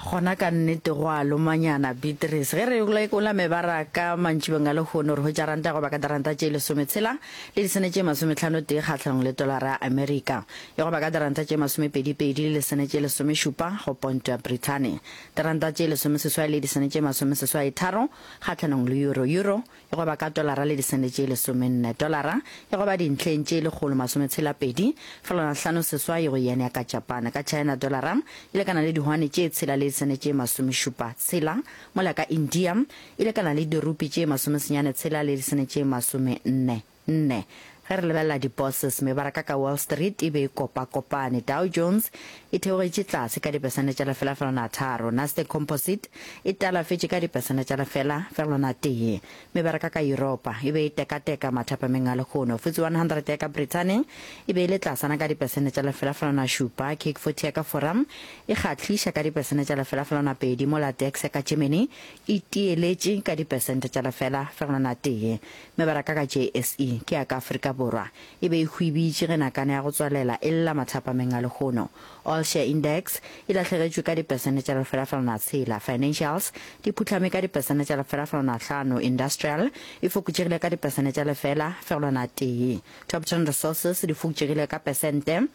Gona ka nnete go a lomanyana, Beatrice. Ge re lekola mebaraka mantšibeng a lehono, re hwetša ranta ya go ba ka diranta tše lesometshela le disene tše masometlhano-tee kgahlanong le tolara ya Amerika, e go ba ka diranta tše masomepedi-pedi le disene tše lesomešupa go ponto ya Brithani, diranta tše lesomeseswai le disene tše masomeseswai-tharo kgahlanong le euro, euro e go ba ka tolara le disente tše lesomenne. Tolara e go ba dintlheng tše 167 felwana 56 go yen ya ka Japan. Ka China tolara e lekana le dihwane tše tshela le disente tše masomešupa tshela, mola ka India e lekana le dirupi tše masomesenyane tshela le disente tše masomenne nne. Ge re lebelela di-bourses, mebaraka ka Wall Street e be e kopakopane. Dow Jones e theogetše tlase ka dipersente tša lefela felwana tharo. Nasdaq Composite e talafetše ka dipersente tša lefela felwana tee. Mebaraka ka Yuropa e be e tekateka mathapameng a lehono. FTSE 100 ya ka Brithani e be e le tlasana ka dipersente tša lefela felwana šupa. CAC 40 ya ka Fora e kgahliša ka dipersente tša lefela felwana pedi, mola DAX ya ka Germany e tieletše ka dipersente tša lefela felwana tee. Mebaraka ka JSE ke ya ka Afrika Borwa e be e hwibitše ge nakana ya go tswalela e lla mathapameng a lehono. All Share Index e lahlegetšwe ka dipesente tša lefelafelwana tshela, Financials di phuhlame ka dipesente tša lefelafelwana hlano, Industrial e fokotšegile ka dipesente tša lefela fegelwana tee, Top Ten Resources di fokotšegile ka pesente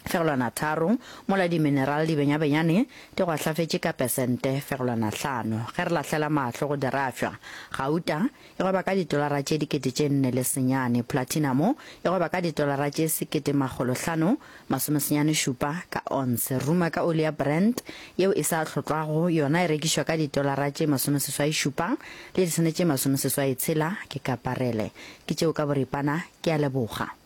fegelwana tharo, mola dimineral di benyabenyane di gwahlafetše ka pesente fegelwana hlano. Ge re lahlela mahlo go dirafša, gauta e gweba ka ditolara tše 4009, platinamo e gweba ka ditolara tše 1597 ka onse. Ruma ka oli ya Brent yeo e sa hlotlwago yona e rekišwa ka ditolara tše 87 le disene tše 86 ke ka parele. Ke tšeo ka boripana, ke a leboga.